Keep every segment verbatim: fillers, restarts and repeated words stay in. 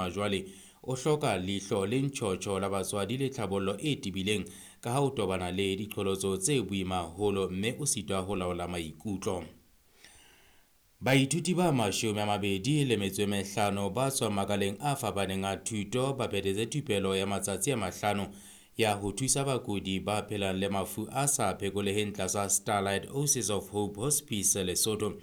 hona jwale o hloka leihlo le ntjhotjho la batswadi le tlhabollo e tebileng ka ha o tobana le diqholotso tse boima haholo mme o sitwa ho laola maikutlo. Baithuti ba mashome a mabedi le metso e mehlano ba tswang makaleng a fapaneng a thuto ba phethetse thupelo ya matsatsi a mahlano ya ho thusa bakudi ba phelang le mafu a sa phekoleheng tlasa Starlight Oasis of Hope Hospice Lesotho.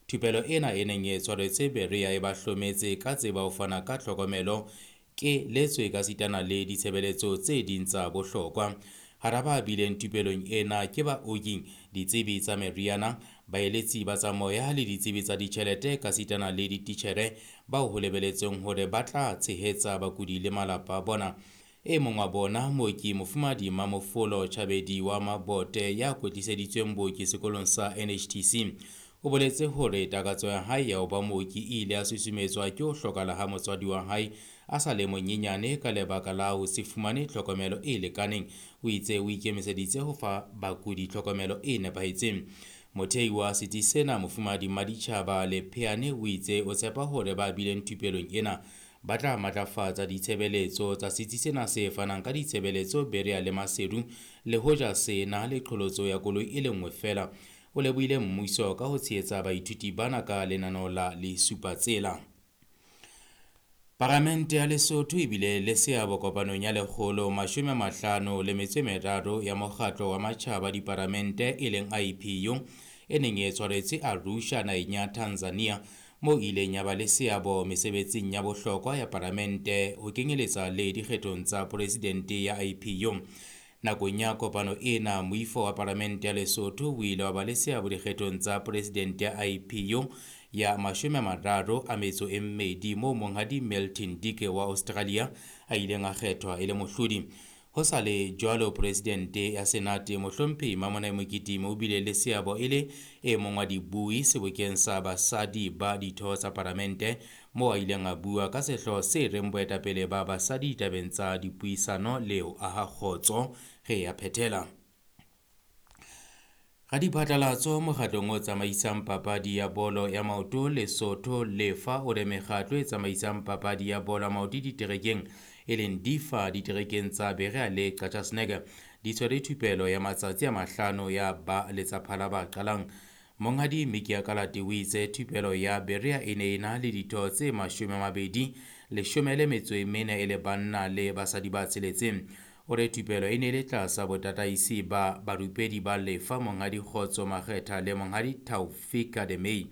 Thupelo ena e neng e tshwaretswe Berea e ba hlometse ka tseba ho fana ka tlhokomelo ke letswe ka sitana le ditshebeletso tse ding tsa bohlokwa. Hara ba bileng thupelong ena ke baoki, ditsebi tsa meriana, baeletsi ba tsa moya le ditsebi tsa ditjhelete ka sitana le dititjhere bao ho lebeletsweng hore ba tla tshehetsa bakudi le malapa a bona. E mong wa bona, mooki Mofumahadi Mamofolo Chabedi wa Mabote ya kwetliseditsweng booki sekolong sa N H T C, o boletse hore takatso ya hae ya ho ba mooki e ile ya susumetswa ke ho hlokahala ha motswadi wa hae a sa le monyenyane ka lebaka la ho se fumane tlhokomelo e lekaneng. O itse o ikemiseditse ho fa bakudi tlhokomelo e nepahetseng. Mothei wa setsi sena, Mofumahadi Maditjhaba Lepheane, o itse o tshepa hore ba bileng thupelong ena ba tla matlafatsa ditshebeletso tsa setsi sena se fanang ka ditshebeletso Berea le Maseru, le hoja se na le qholotso ya koloi e le nngwe feela. O lebohile mmuso ka ho tshehetsa baithuti bana ka lenaneo la Lesupatsela. Paramente ya Lesotho e bile le seabo kopanong ya lekgolo mashome a mahlano le metso e meraro ya mokgatlo wa matjhaba diparamente e leng I P U e neng e tshwaretswe Arusha naheng ya Tanzania, moo e ileng ya ba le seabo mesebetsing ya bohlokwa ya paramente ho kenyeletsa le dikgethong tsa presidente ya I P U. Nakong ya kopano ena, moifo wa paramente ya Lesotho o ile wa ba le seabo dikgethong tsa presidente ya I P U ya mashome a mararo a metso e mmedi, moo monghadi Milton Dike wa Australia a ileng a kgethwa e le mohlodi. Ho sa le jwalo, presidente ya Senate Mohlomphehi Mamonai Mokitimi o bile le seabo e le e mong wa dibui sebokeng sa basadi ba ditho tsa paramente, moo a ileng a bua ka sehlooho se reng boetapele ba basadi ditabeng tsa dipuisano le ho aha kgotso. Re ya phethela. Radiphatlalatso mokgatlong o tsamaisang papadi ya bolo ya maoto Lesotho Lefa o re mekgatlo e tsamaisang papadi ya bolo ya maoto diterekeng e leng D I F A diterekeng tsa Berea le Qachaseneke di tshwere thupelo ya matsatsi a mahlano ya ba letsaphala ba qalang. Monghadi Mikia Kalate o itse thupelo ya Berea e ne e na le ditho tse mashome a mabedi, leshome le metso e mene e le banna le basadi ba tsheletseng. O re thupelo e ne le tlasa botataisi ba barupedi ba Lefa Monghadi Kgotso Makgetha le Monghadi Taufik Ademei.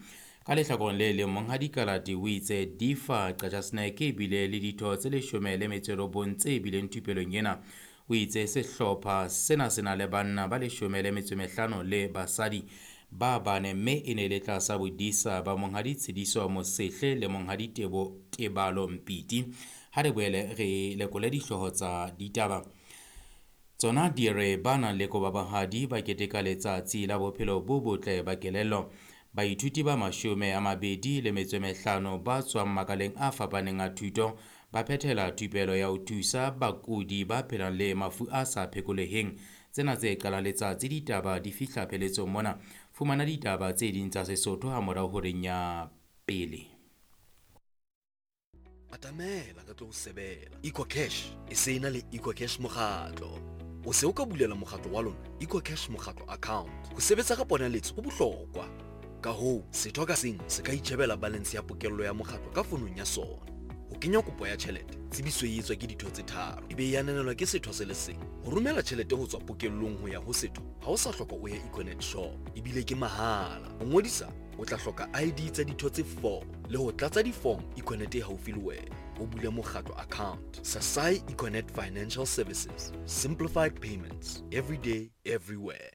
Ka lehlakoreng le leng, Monghadi Kalate o itse D I F A Qachaseneke e bile le ditho tse leshome le metso e robong tse bileng thupelong ena. O itse sehlopha sena se na le banna ba leshome le metso e mehlano le basadi ba bane, mme e ne le tlasa bodisa ba Monghadi Tshidiso Mosehle le Monghadi Tebo Tebalo Mpiti. Ha re boele re lekole dihlooho tsa ditaba. Tsona di re ba nang le kobabahadi ba keteka letsatsi la bophelo bo botle ba kelello. Baithuti ba mashome a mabedi le metso e mehlano ba tswang makaleng a fapaneng a thuto ba phethela thupelo ya ho thusa bakudi ba phelang le mafu a sa phekoleheng. Tsena tse qalang letsatsi ditaba di fihla pheletsong mona. Fumana ditaba tse ding tsa Sesotho ha morao horeng ya pele. Atamela ka tlo sebela. EcoCash e se na le EcoCash mokgatlo. O se o ka bulela mokgatlo wa lona EcoCash mokgatlo account. Ho sebetsa ka ponaletso ho bohlokwa. Ka hoo, setho ka seng se ka itjhebela balance ya pokello ya mokgatlo ka fonong ya sona. Ho kenya kopo ya tjhelete, tsebiso e etswa ke ditho tse tharo, ebe e ananelwa ke setho se le seng. Ho romela tjhelete ho tswa pokellong ho ya ho setho, ha o sa hloka o ye Econet shop, ebile ke mahala. Ho ngodisa, o tla hloka I D tsa ditho tse four le ho tlatsa di-form Econet e haufi le wena. O bule mokgatlo account. Sasai Econet Financial Services. Simplified payments. Every day, everywhere.